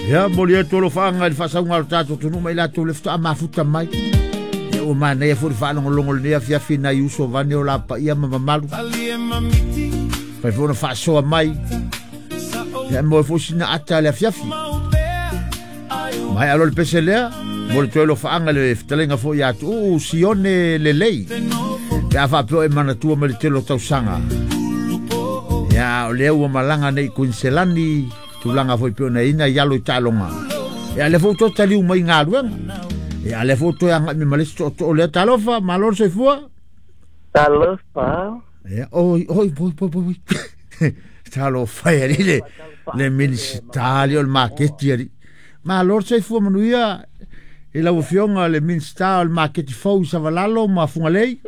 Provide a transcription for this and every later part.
Ia moli atu alofaaga i le faasauga o le tatou atunuu ma i latou le faatoa mafuta mai. Ia ua manaia foi le faalogologo i lenei afiafi i nai uso vaeane o lapaia ma mamalu. Fai foi ona faasoa mai. Ia maua foi sina ata i le afiafi. Maea loa le pese lea, mo le toe alofaaga i le fetalaiga foi ia Tuuu Sione Lelei. Pe a faapea o e manatua mai le tele o tausaga. Ia, o lea ua malaga nei i Kuiniselani, tulaga foi pei ona i ai nai alo i taaloga. Ia, lea foi ua toe taliu mai i galuega. Ia, lea foi ua toe agai mai ma le isi tootoo lea. Talofa, malo le soifua. Talofa. Ia, oi, oi, oi, oi, oi. Talofa e alii le Minisita alii o le maketi alii. Malo le soifua manuia i lau Afioga le Minisita o le maketi fou i Savalalo ma Fugalei.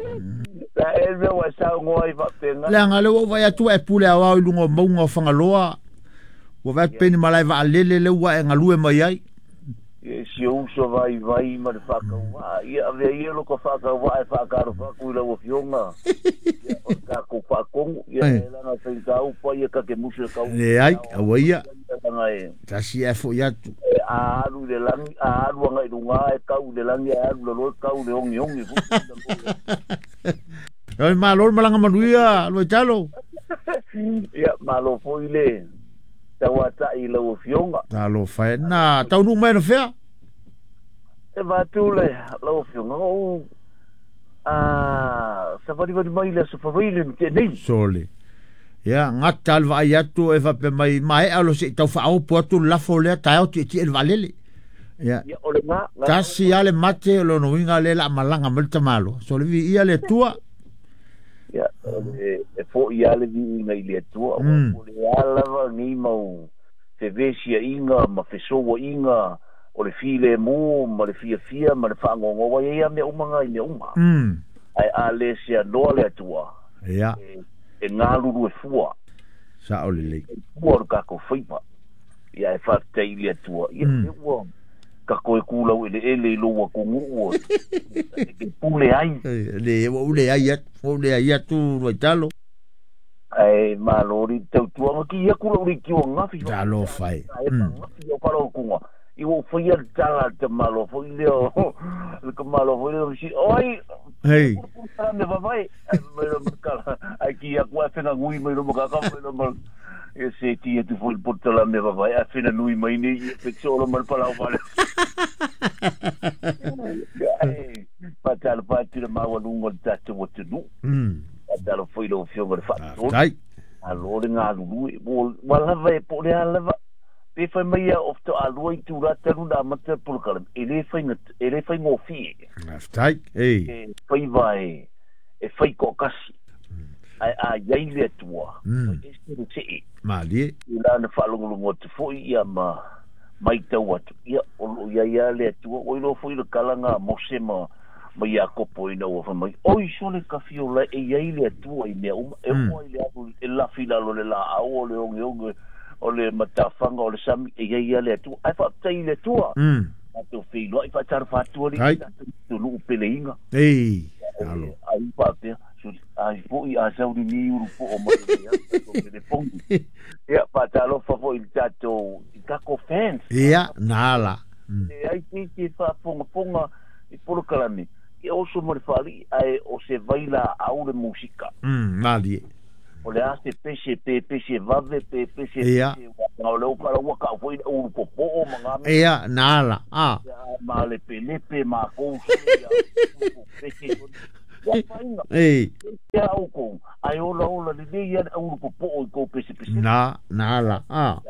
La e mea ua e saunoa ai faapena. Leaga lea ua ou vaai atu ua e pule aoao i luga o mauga o Fagaloa. Ua vaai atu pei ni malae vaalele lea ua e galue mai ai. Ia, si ou uso vaivai ma le faatauvaa. Ia, avea ia lota faatauvaa e faatalofa atu i lau Afioga. Ia, o le tatou faatonu. Ia, e leaga e faigata upu ia ta te musu e tau. Leai, aua ia. Leaga e. Tasi ae foi atu. E a alu i le lagi, a alu agai i luga e tau i le lagi, ae alu i lalo e tau i le ogeoge foi. Oi, malo le malaga manuia, Luaitalo. Ia, malo foi le tauatai i lau Afioga. Talofa e, na taunuu mai anafea? E vaeatu le lau Afioga, ou savalivali mai i le Aso Faraile na tea nei. Sole. Ia, gata le vaai atu e faapea mai, maea loa se i tau faaopo atu le lafo lea, taeao tietie i le vaalele. Ia, Ia, o lena, na tasi lava le mate, o lona uiga lea o le a malaga mai le tamaloa. Sole, viia le Atua. Ia, e foi lava le viiga i le Atua, aua po o le a lava nei mau fevesiaiga ma fesouaiga o le filemu ma le fiafia ma le faanoanoa, aua e i ai lava mea uma na i mea uma. Ae a le seanoa le Atua, e galulue fua. Sao lelei. E fua o le tatou faiva. Ia, ae faafetai i le Atua, ia, o lea ua ta toe tu laueleele i lou atunuu e te pule ai. Le, ua ou leai atu, ua ou leai atu Luaitalo. Ae malo le tautuaga ki atu lau leitio angafi. Talofa e. Angafi o faalautuga. I ua ou faia le tala a le tamaloa foi lea o le tamaloa foi lea o si oi. Hei. Me vavae. Ai mai lo makala. Ai ki atu ai whenga nui mai lo makaka mai lo mal. E se ti atu foi le potala me vavae ai whenga nui mai nei i pe tolo mal palau vale. Ai patalo patu le maualuga o le tatou atunuu. Faatalofa foi i lau Afioga i le Faatonu. Faafetai. Malo le galulue. Ua lava e po o le a lava. Pe fai mai ia o faatoa lua itula talu ona amata le polokalame, e le faiga, e le faigofie. Faafetai. Ei. E faiva e fai toatasi. Ae a i ai le Atua, e ese le see. Malie. I la na faalogologo atu foi ia ma maitau atu, ia, o lo o i ai lava le Atua. Ua iloa foi le tala na a Mose ma Iakopo ina ua fai mai, Oi sole tafiola e i ai le Atua i mea uma, e oo ai le alu e lafi i lalo o le laau, o le ogeoge, o le matafaga, o le sami, e i ai lava le Atua. Ae faafetai i le Atua, tatou feiloai, faatalofa atu alii i tatou atunuu peleiga. Ei, alo. Ai faapea, ai foi a sau lenei ulu po'o mai o le tatou telefoni. Ia, faatalofa foi i le tatou, i tatou fans. Ia, na ala. Leai se isi e faafogafoga i polokalame, ia oso ma le faalii, ae o se vailaau le musika. Malie. O le a se pese, pe pese vave, pe pese Ia. pese o lea ua ua kau foi le ulu popoo ma ngā mea. Ia, na ala. A. Ia, ma lepelepe mākou sole ia pese ia fainga. Ei. Ia oukou, ae ola ola lelei ia le ulu popoo i kou pese pese. Na ala. A.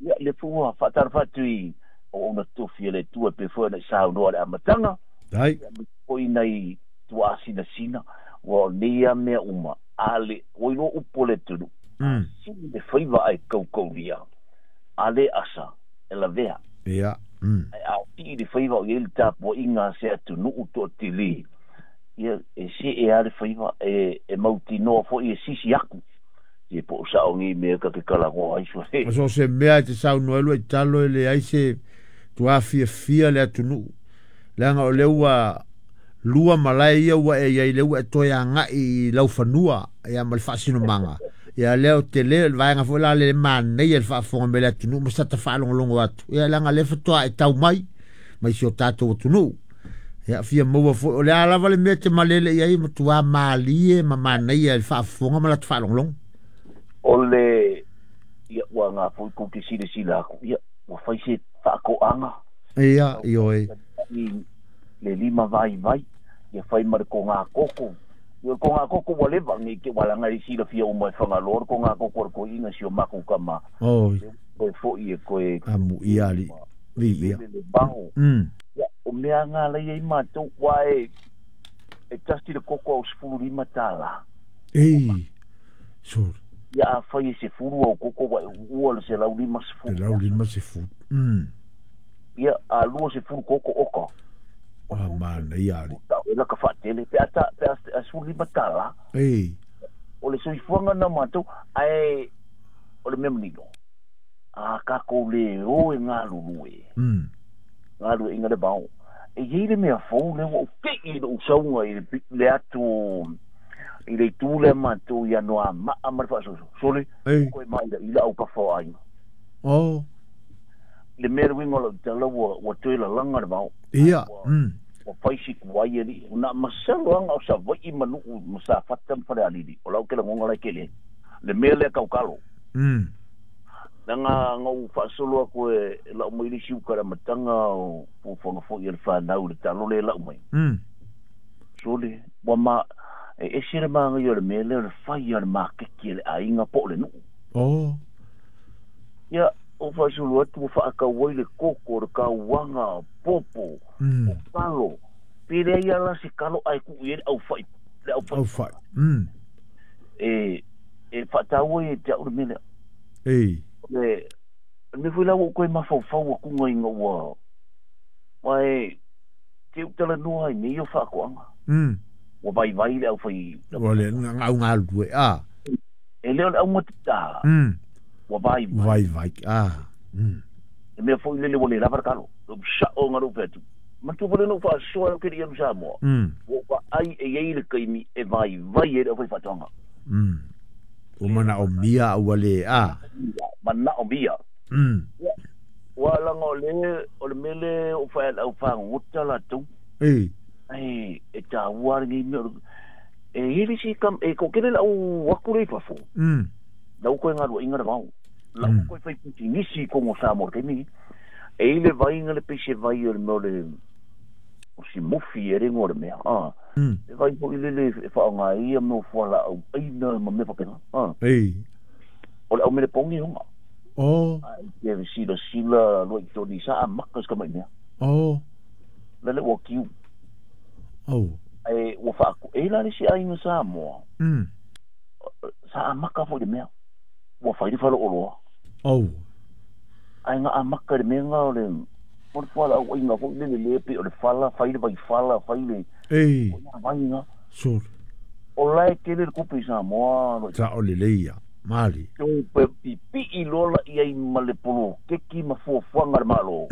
Ia, le fua faatalofa atu i o ona tofi e le Atua pe foi ona i saunoa le amataga. Dai. Ia, me foi nai tuaasinasina, ua o nei a mea uma, a le, ua iloa upu o le atunuu, a sili le faiva ae kaukaulia, a le asa, e lavea. Ia. Ae a sii le faiva o i ai le tapuaiga a se atunuu toatele, ia, e see lava le faiva, e mautinoa foi e sisi aku. Ia po o sao nei mea ta te talanoa ai sole. O so o se mea e te saunoa ai lua i talo e leai se tuafiafia le atunuu. Leaga o lea ua lua malae ia ua e i ai, lea ua e toe agai i laufanua ia ma le faasinomaga. Ia lea o tele o le vaega foi la le manaia le faafofoga mai le atunuu ma sa tafaalogologo atu. Ia leaga lea faatoa e tau mai mai si o tatou atunuu. Ia fia maua foi o le a lava le mea te malele i ai matua malie ma manaia le faafofoga ma lata faalogologo. O le ia ua ngā foi kou te silasila aku ia ua fai se faakoaga. Ia ioe. Le lima vaivai ia fai ma le kogā koko. Ia o le kogā koko ua leva nei te walaga i silafia uma e Fagaloa le kogā koko a le toeaina si o matou tama. Oi. Toe foi e toe Amuia alii. Viia. Lele le vao. Ia o mea nga la i ai matou ua e e tasi le koko au $15. Ei. Sorry. Ia afai e 10 au koko ua e uua le 150. 150. Ia a 20 koko oka. A manaia alii. E laka faatele pe a ta pe a $15. Ei. O le soifuaga na matou ae o le mea manino. A tatou le o e galulue. Galueaiga le vao. E i ai le mea fou lea ua ou te'i i lou sauga i le atu i le itu lea matou i Anoamaa ma le faasoso. Sole, Ei. Koe maila'ila au kafa o aiga. Oh. Le mea le uiga o lau tala ua ua toe lalaga le vao. Ia. Ua ua fai si tuai alii. Na masalo lava o Savaii ma Nuu ma Safata ma Falealili. O lau ke lagoga la e tele ai. Le mea lea tautalo. Leaga na ou faasolo atu e lau mai le isi uta i le amataga o fuafuaga foi a le fanau i le talo lea e lau mai. Sole, ua ma, e ese le manaia o le mea lea o le fai a le maketi a le aiga po o le nuu. Oh. Ia, ou faasolo atu ua faatau ai le koko, le kauaga, popo, o kalo. Pe leai lava la se kalo ae tuu i ai le aufai, le aufai. Aufai. E, e faataua ia te au le mea lea. Ei. Le mea foi la ua ou toe mafaufau atuga ina ua aua e te u talanoa ai nei o faatoaga. Ua vaivai le aufai. Ua le au galulue a. E le o le augatata. Ua vaivai. Vaivai a. Le mea foi lele ua le lava le kalo. Lou sao nga lou fai atu. Manatua foi lea na ou faasoa ai ou te le i alu Samoa. Ua ou vaai e i ai le taimi e vaivai ai le aufaifaatoaga. Ua manaomia a ua le a. Manaomia. Ia, ua laga o le, o le mea lea o fai a le au fagogota latou. Ei. Ai, e taua lenei mea. E i ai le isi kam, e toatele le au atu lea i fafo. La ua toe galuaiga le vao. La ua toe fai pisinisi i totonu o Samoa i le taimi lenei. E i ai le vaiga le pei se vai o le mea o le o si mufi e le igoa o le mea a. E vai foi lele e faaaoga ai ia mea o fualaau aina ma mea faapena a. Ei. O le au mele pogi ona. Oh. Ai te silasila loa i toni sa amata si tamai mea. Oh. Lele ua kiu. Oh. Ai ua faaku e la le isi aiga Samoa. Sa amata foi le mea. Ua fai le faleoloa. Oh. Ai nga amata le mea nga o le o le fualaau aina foi lele le pe o le fala, fai le vaifala, fai le Ei. o ia vai nga. Sure. O la e tele le tupe i Samoa, lo. Sa o lelei ia. Mali. Toe pe pipii loa la i ai ma le poloketi ma fuafuaga a le Malo.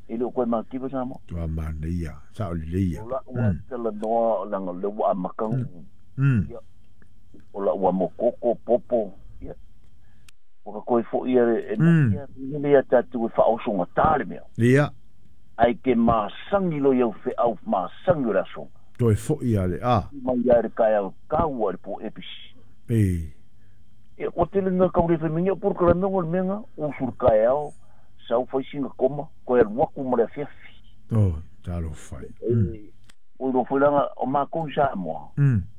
E le o koe makiva Samoa. Tua manaia, sa o lelei ia. O lau ua talanoa leaga o lea ua amata ona ia, o lau amo koko, popo, ia. Ua ka toe foi ia e moni ia lele ia tatou e faaosogata le mea. Ia. Ae ke masani loa i au feau masani o le aso. Toe foi ia le a. Mai ia le taeao taua i le po episi. Ei. Ia, ua tele nga kau le whai o polokalame o le mea nga, usu le taeao, sau fai sina koma, koe alu atu ma le afiafi. Oh, talofa e. E, ua iloa foi langa o makou i Samoa,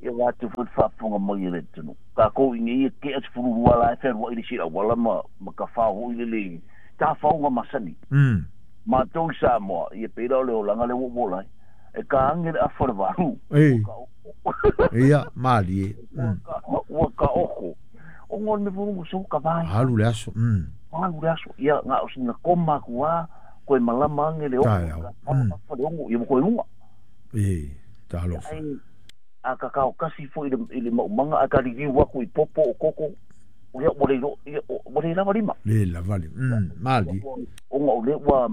ia latou foi le faafofoga mai e le atunuu. Takou i nei e tea 12 la e fealuai le isi auala ma, ma tafao foi lele tafaoga masani. Matou i Samoa, ia pei la o le olaga lea ua ou ola ai. E ka age le afa o le valu, Ei. ua ka oko. Ia, malie. Ua ka oko. O ngā le mea so ka vai. Alu le aso. Alu le aso. Ia, ngā o sina koma aku a, koe malama ange le oko. Taeao. Ka afa le ongo, ia mo koe unga. Ei, talofa. Ai, a ka kao kasi foi i le maumanga, a ka ririu aku i popo o koko, o ia, ua le ilo, ia, ua le lava lima. Le lava lima. Mali. Onga o le ua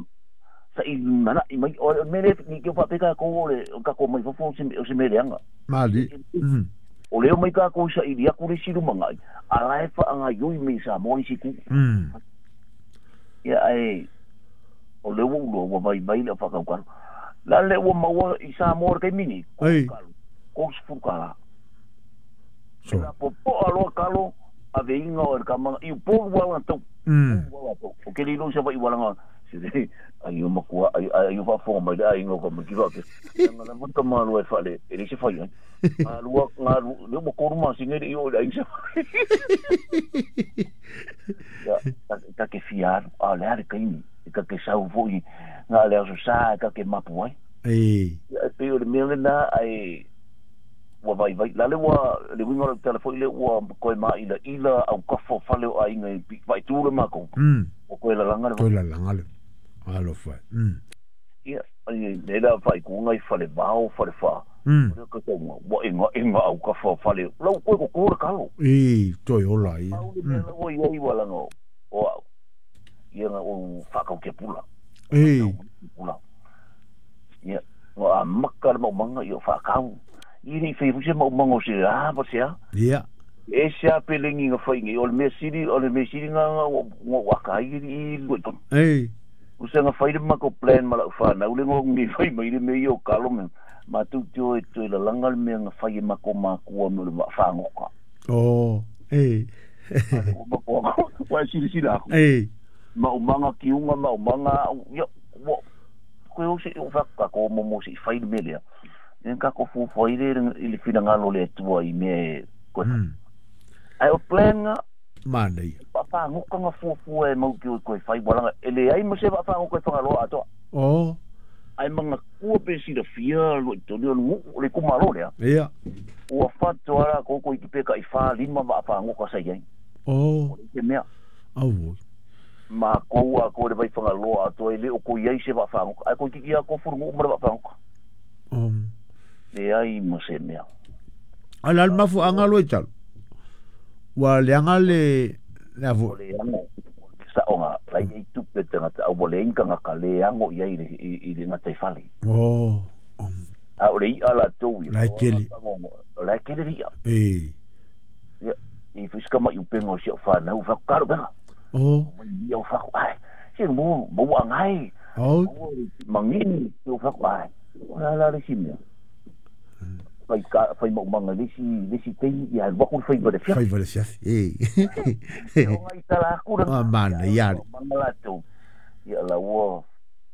sa'i mana'i mai, o le mea lea ni ke whaapeka ko o le o kako mai fafo o se mea leaga. Mali. O leo mai kākou sa ili aku le silu mangai, ala e whaanga yui me sa mō isi ku. Ia ai, o leo ulo, ua vai vai le whakau kalo. La le ua maua i sa mō kai mini, ko sifuru kala. So. La popo aloa kalo, a ve inga o le kamanga, i upolu wala tau. O ke lilo sa vai wala nga, se ai o makua, ai o whafonga mai le ai ngau ka makiwa ke. Nga la vuta malua e whale, e le se whai ai. Ngā lua, le ua koru masinga i o le ai sa. Ia, ta ke fia alu, a le ale kaimi, e ka ke sau foi, ngā le aso sa, e ka ke mapu ai. Ia, e pe o le mea le nā, ai, ua vai vai. La le ua, le winga o le tala foi le ua koe maa ila ila au kafo fale o ainga i vai tū le mako. O koe lalanga le. Koe lalanga le. Alo fai. Ia, ai, le la fai ku ngai fale vao, fale wha. O ka taunga, wa inga inga au kafo fale. Lau koe ko kōra kalo. I, toi ola ia. Au le mea ua ia i walanga o au. Ia nga o whakau ke pula. Pula. Ia, o a maka le maumanga i o whakau. I nei whai fuse maumanga o se a, pa se a. Ia. E se a pelengi nga whai ngi, o le mea siri, o le mea siri nga nga nga waka i i lua i tonu. O se nga whai le mako plan ma lau whanau le ngo ngi whai mai le mea i o kalo me. Ma tū tio e toi la langa le mea nga whai e mako mākua me le whangoka. O, O mako ako, wa siri siri ako. Maumanga kiunga, maumanga, ia, wa, koe o se o whaka ko momo se i whai le mea lea. Ia ka ko fuafua i le i le whirangalo le atua i mea koe. Ai o plan nga, Mānei. Whangokanga fuafua e mau ki o koe whai walanga. E le ai mo se whangoko e whangaloa atoa. O. Ai manga kua pe sira fia lo i toni o ngu le kumalo lea. Ia. Ua whatoa rā koko i ki peka i whā lima wa whangoka sa iai. O. O le te mea. Au. Ma koua ko le vai whangaloa atoa e le o ko iai se wa whangoka. Ai ko ki kia ko furu ngu mara wa whangoka. Le ai mo se mea. Ala al mafu anga lo i talo. Ua le anga le O le ango. Sa onga, lai ei tupe tangata, au le inka ngaka le ango i ai i le ngata i fale. O. A o le i ala tau i. Lai kele. Lai kele ria. Ia, i fuska mai upenga o si o whanau, whakukaro benga. O. Mai ia o whaku, ai, si mo, mo angai. O. Mangini, o whaku, ai. O la la le si mea. Whai ka, whai maumanga le si tei, ia waku whai wale fiafi. Whai wale fiafi, O ngai tala aku ranga. A mana, ia. Manga la tau. Ia la ua,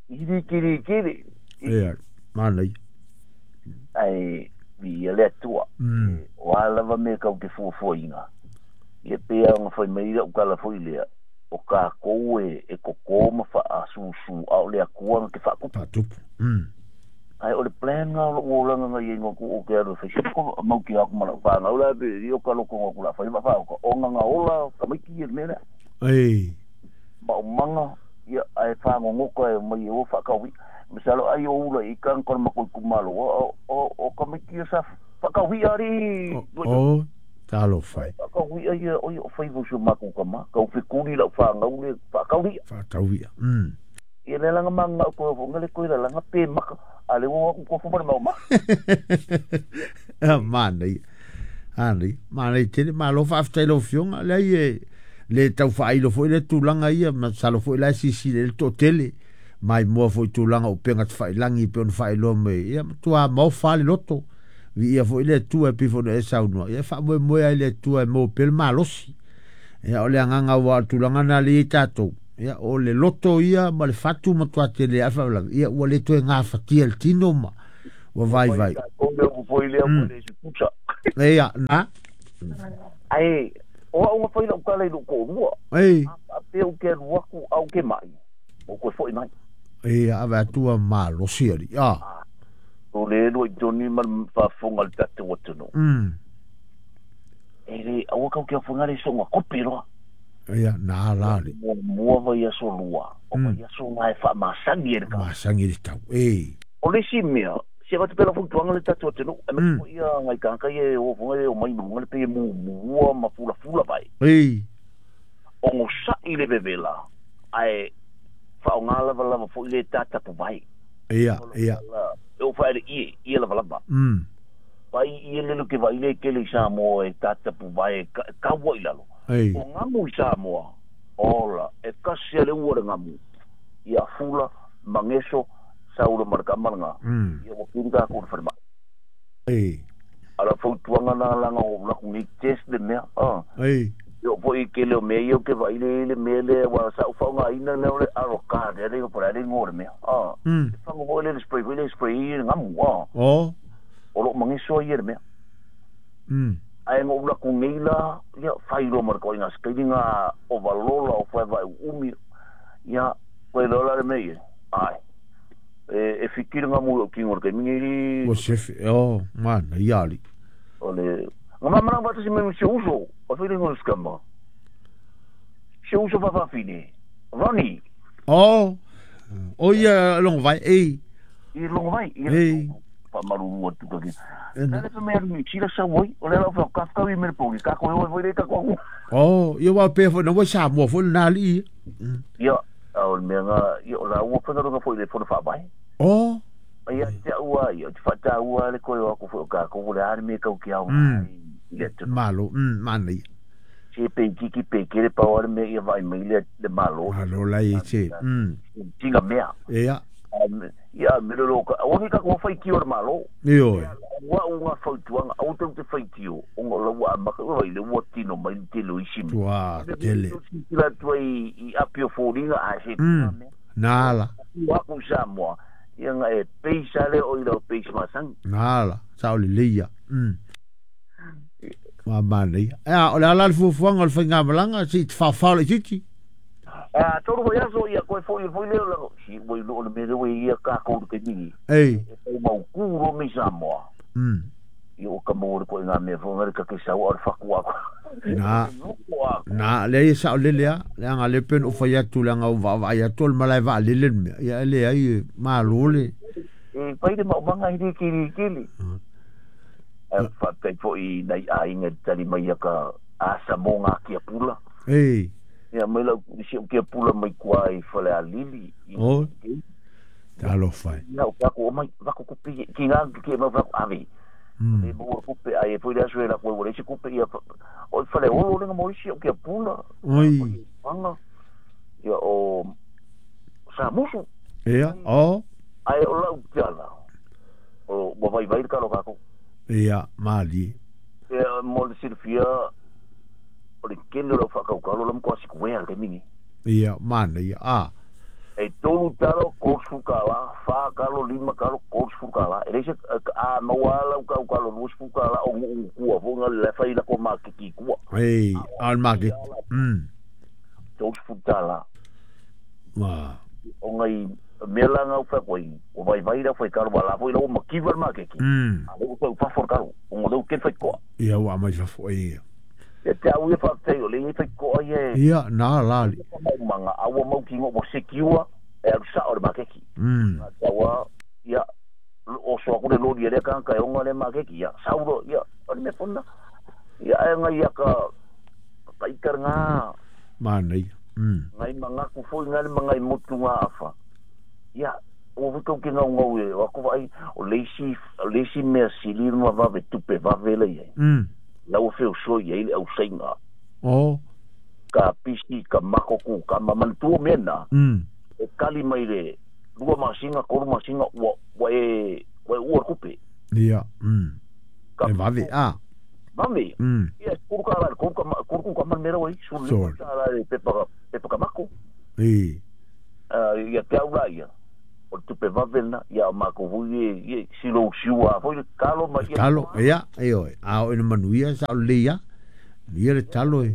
iri kiri kiri. Ia, mana ia. Ai, ia le atua. O alava me kau te fuafua inga. Ia pea nga whai mai ira ukala fo i lea. O ka koe e koko ma wha a susu a o lea kua nga te whakupu. Whatupu. Ai o le plan nga o langa nga i ngā ku o ke aru whai siko mau ki aku mana whānau la pe i o ka loko ngā kula whai ma whāo o nga nga ola ka maiki i mea. Ma o manga ia ai whāngo ngoka e mai e o whakawi. Misalo ai o ula i kan kono makoi kumalo o ka maiki sa whakawi ari. O talo whai. Whakawi ai o i o whai vusu maku kama. Ka uwhikuri lau whāngau le whakawi. Whakawi. Ia le langa manga o koe o ngale koe la langa pe maka. Ale o aku ko fuma mau ma. Mana ia. Ani, mana i tele malo faafetai lau afioga leai e le tau faailo foʻi le tulaga ia ma salo foʻi la e sisili ai le toʻatele mai moa foʻi tulaga o upega tafailagi pe ona faailoa mai ia matuā maofa le loto viia foʻi le Atua e pei foi ona e saunoa ia e faamoemoe ai le Atua e maua pea le malosi ia o le agaga ua o le tulaga na le iai tatou ia o le loto ia ma le fatu matuā tele ae faalavelave ia ua le toe gafatia le tino ma ua vaivai. Ia na. Ai o au nga whai lau kala i lou koʻolua. A pea u ke alu aku au ke mai. O koe foʻi mai. Ia ave atua malosi ali. A. O le elua i toni ma le faafofoga le tatou atunuu. E le aua kau ke afoga le soga kope loa. Ia na la le. Mua vai aso lua. O vai aso nga e faamasagi e le ka. Masagi le tau. O le isi mea, se avatu pea lau fautuaga le tatou atunuu, e mati foʻi ia ngai kākai e o afoga e o mai maluga le pe e mumua ma fulafula vai. O gosaʻi le vevela, ae faaaogā lavalava foʻi le tatapu vai. Ia, ia. E o faele ie, ie lavalava. Pai i ele ke vai le kele i Samoa e tatapu vai kaua i lalo. O ngamu i Samoa, ola, e kasi ale ua le ngamu. Ia fula, mangeso, saula marka malanga. Ia wakiri ka kuru wharema. Ala fautuanga na langa o laku ni test le mea. Ia po i kele o mea ia ke vai le le mea le wa sa uwhaunga ina le ole aro ka le le o le ngore mea. E whango mo le spray le spray i ngamu. O lo mangeso ia le mea. Ai ngo ula ku nei la ia whairo marka o inga skairinga o valola o whai vai umi. Ia koe lola le mea ia. Ai. E fikiri ngā mui o kingo ke mingiri. O sefe, o, mana, iali. O le, ngā mamana wata si memi se uso, o whiri ngā skama. Se uso whawhawhine. Ronnie. O, o ia longo vai, ei. I longo vai, i. Whamaruru atu kake. Nā le mea ni tira sa wai, o le lau whao kafkau i mere pōki, kako e oi voi re kako aku. O, ia wā pēr whai, na wai sa mua whai nā li. Ia, o le mea ngā, ia o la ua whangaronga whai le whona whaamai. O. Ia te ua, ia te whata ua le koe o aku whai o kako, o le are me kau ki au. Malo, mana ia. Se pe kiki pe kere pau are me ia vai mai le malo. Malo lai e te. Tinga mea. Ia. Ia, me roro ka, o ni kako whai tio le malo. Io. Ua unga fautuanga, au tau te whai tio, o ngā laua amaka, ua i le ua tino mai te lo isi. Tua, tele. Tila tua i apio fōringa, a se tua mea. Nā la. Ua ku Samoa, ia ngā e peisa le o i lau peisa masangi. Nā la, sa o le leia. Ma mana ia. Ea, o le ala le fuafuaga o le faigamalanga, se i te whawhao le titi. Tolu mai aso ia koe foi foi leo la si wai lo le mere wai ia ka ko ke ni. Ei. E mau kuro mi Samoa. Ia o ka mo ko ngā mea fo ngare ka ke sau o faku aku. Na. Na le ia sa le lea, le anga le pen o fai atu le anga o va va ia tol malai va le le mea. Ia le ai ma lo le. E pai le mau manga i kiri kiri. E fa te foi nei ai ngai tali mai ka asa mo ngā kia pula. Ei. Ia mai lau si o kia pula mai kua i whale a lili. O, talo whai. Ia o kako o mai wako kupi, ki ngā ki mau wako ave. E mo kupe ai e foi le aso e la koe wale si kupe ia o whale olo lenga mo isi o kia pula. Oi. Anga. Ia o sa musu. Ia, o. Ai o lau tiala. O mo vai vai ka lo kako. Ia, mali. Ia mo le silfia o le kele o whakaukalo la mkoa sikuea le mingi. Ia, mana ia, a. E tolu talo, kosfu kala, wha kalo, lima kalo, kosfu kala. E reise, a maua lau kau kalo, luasfu kala, o ngukua, fonga le whai la ko makiki kua. Ei, al makiki. Kosfu tala. Ma. O ngai, mea la ngau whakoi, o vai vai la whai kalo, wala whai la o makiwa le makiki. A leu whai whawhor kalo, o ngau leu ken whai koa. Ia, wa mai whawhor, ia. Ia te au ia whakatei o le ia whai koa ia. Ia, nā lali. Manga, aua mau ki ngō mo sekiua, e aru sa o le makeki. Taua, ia, o soa kune lori e lea kanga e onga le makeki, ia, sauro, ia, o le mea whana. Ia, e ngai ia ka, ka ikar ngā. Mana ia. Ngai mangaku fo i ngai mangai motu ngā awha. Ia, o wikau ki ngau ngau e, o ako vai, o leisi mea sili ma wawe tupe wawe le ia. Lau feo soi e ile au seinga. O. Ka pisi, ka makoku, ka mamantua mena. E kali mai le, lua masinga, koru masinga, ua e ua kupe. Ia, E wawe, a. Wawe. Ia, kuru ka ala, kuru ka man mera wai, suru ka ala le pepa ka mako. Ei. Ia, te au la ia. O tupe wawe na, ia mako hui e, silo siua, foi kalo ma ia. Kalo, ia, e oi. A o ina manuia, sa o le ia. Ia le talo e.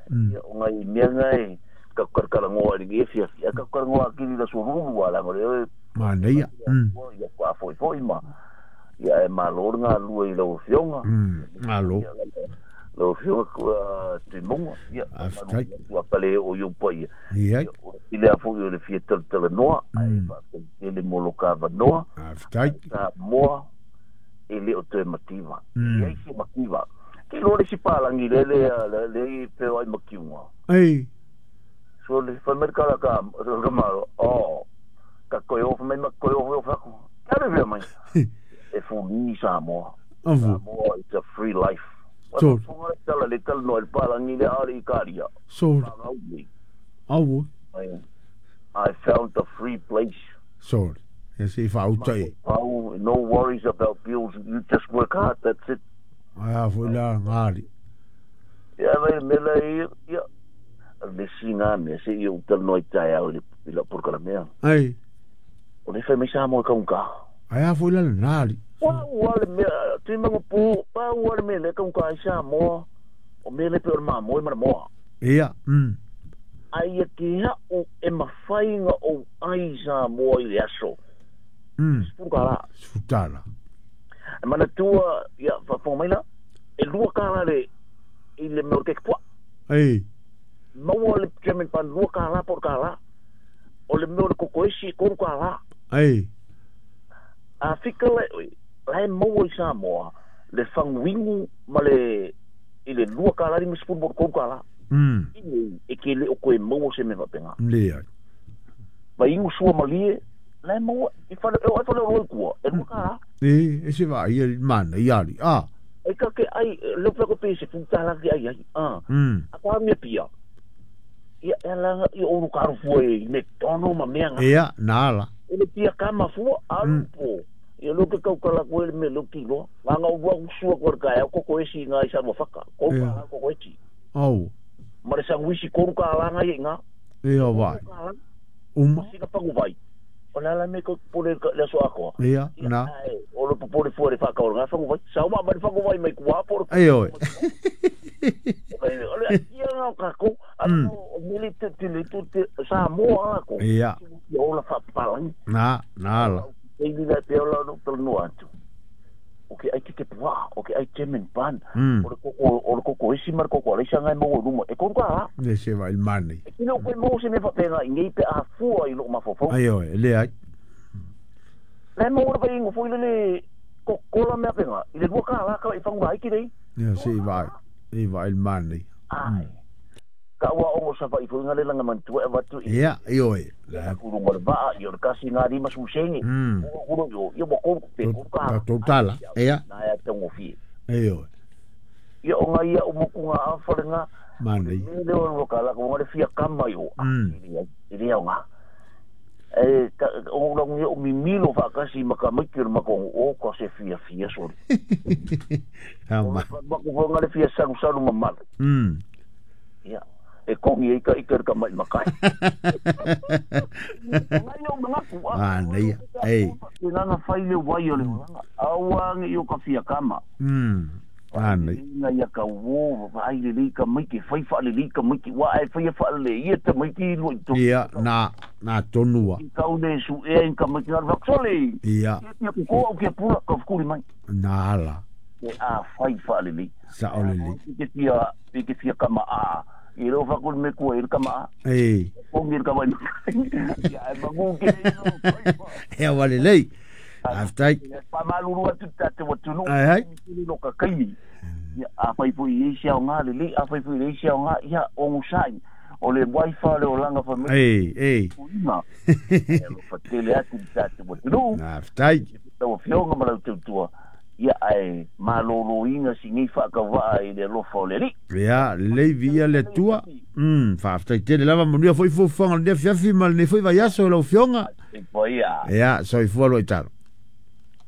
Ia, o ngai mea ngai, ka karkara ngoa ringi e fia, ia ka karkara ngoa kiri la sururu ala ngore, e. Mana ia. Ia, kua foi foi ma. Ia e malo ngā lua i lau fionga. Malo. Lau fionga kua tuimonga. Ia, ua pale o iupa ia. Ia. I lea foi o le fia tele noa, ai wha le moloka noa. Aftai. Ka moa e le o toe mativa. Ia isi mativa. Ki loa le si pālangi le le le i peo ai makiunga. Ei. So le whameri kala ka maro, o, ka koe ofa mai ma koe ofa ofa aku. Kia le vea mai. E funi Samoa. Avu. Samoa it's a free life. Sure. Funga tala le tala no el palangi le ale i karia. Sure. Avu. I found a free place. Sure. Ia se i whaauta e. Oh, no worries about bills. You just work hard. That's it. Ai a foi la ngari. Ia vai mela i ia. Le singa me se i o tala no i tai au le la por la mea. Ai. O le fai mai sa mo ka unka. Ai a foi la ngari. Wa wa le mea tu mangu pu pa wa le mea le ka unka i sa mo. O me le pe o ma mo i mana moa. Ia. Ai e ki ha o e mawhainga o ai sa moa i le aso. Sfukara. Sfutara. E mana tua, ia, whafonga mai la, e lua kāla le, i le mea o ke pua. Ei. Maua le German pan lua kāla por kāla. O le mea o le kokoesi, koru kāla. Ei. A fika le, la e maua i Samoa, le whangwingu ma le, i le lua kāla ni masipuru por koru kāla. E ke le o koe maua se me wapenga. Lea. Ma ingu sua malie, la e maua, i whale, e whale o roi kua, e lua kāla. E se wa ia mana i ari. A. E ka ke ai, leo peko pe se pūtala ke ai ai. A. A kwa mea pia. Ia, e langa, i oru karu fua e, me tono ma mea ngā. Ia, nā la. E le pia kama fua, aru po. Ia leo ke kaukala koe le me leo kiloa. Ngā ngā urua usua koe ka e, koko esi ngā i sanua whaka. Koru kāla koko esi. Au. Ma le sanguisi koru kāla ngā i ngā. Ia vai. Uma. Sika pangu vai. O la la me ko pole le so akoa. Ia, na. O le popole fua le whaka o ngā whangu vai. Sa uma ma le whangu vai mai kua pore. Ai oi. O le ia ngā kako. Ano o mele te te le te te sa moa ako. Ia. Ia o la whapalangi. Na, na la. E ni la pe ola no tala no atu. O ke ai te pua, o ke ai te men pan. O le koko esi mar koko ale sanga mo ruma. E koru ka. Le se vai mani. E kino koe mo se me whapenga i nei pe a fua i lo mafofo. Ai oi, le ai. Le mo ora vai ngo foi le kokola mea penga. I le lua ka la ka i whangu ai ki rei. Ia se vai. I vai mani. Ai. Ka ua ongo sa vai foi ngale langa mantua e watu i. Ia, i oi. La kurunga le vaa, i o le kasi ngā rima susenge. Kuro yo, ia mo koru pe koru ka. Totala, ia. Nā ia tango fie. Ei oi. Ia o ngā ia o moku ngā awhare ngā. Mani. Me leo o ka laka, ngā le fia kama i o. I rea o ngā. E, o rangu ia o mimilo whakasi maka maiki o maka o ka se fia fia sori. Ha ma. Mako fo ngā le fia saru saru mamala. Ia. E kongi e ka ika ka mai makai. Ngai o mangaku. Ah, nei. Ei. Te nana whai le wai o le olanga. Aua nge i o ka fia kama. Ah, nei. Inga ia ka wo, ai le lei ka maiki, whai wha le lei ka maiki, wa ai whai wha le ia te maiki i lua i tō. Ia, nā tonua. I kau ne su ea in ka maiki ngā whaksole. Ia. Ia ko au kia pura ka whakuri mai. Nā ala. E a whai wha le lei. Sa o le lei. I ke fia kama a. I reo whakuri me kua i kama a. Ei. Kongi i kama i. Ia e mangu ke i. Ea wale lei. Aftai. Pa maluru atu tate watunu. Ai ai. Lo ka kaimi. Ia a whai pui i eisi au ngā le lei, a whai pui i eisi au ngā, ia ongu sai. O le waifa le o langa wha me. Ei, ei. Uima. Ia lo whatele atu tate watunu. Aftai. Tau whionga marau tautua. Ia ai malolo inga si nei whakawaa i le lofa o le ri. Ia, lei via le tua. Whaaftai tele lava manuia foi fuafuaga le fiafi ma le foi vaiaso i lau fioga. Ia. Ia, soifua lo i talo.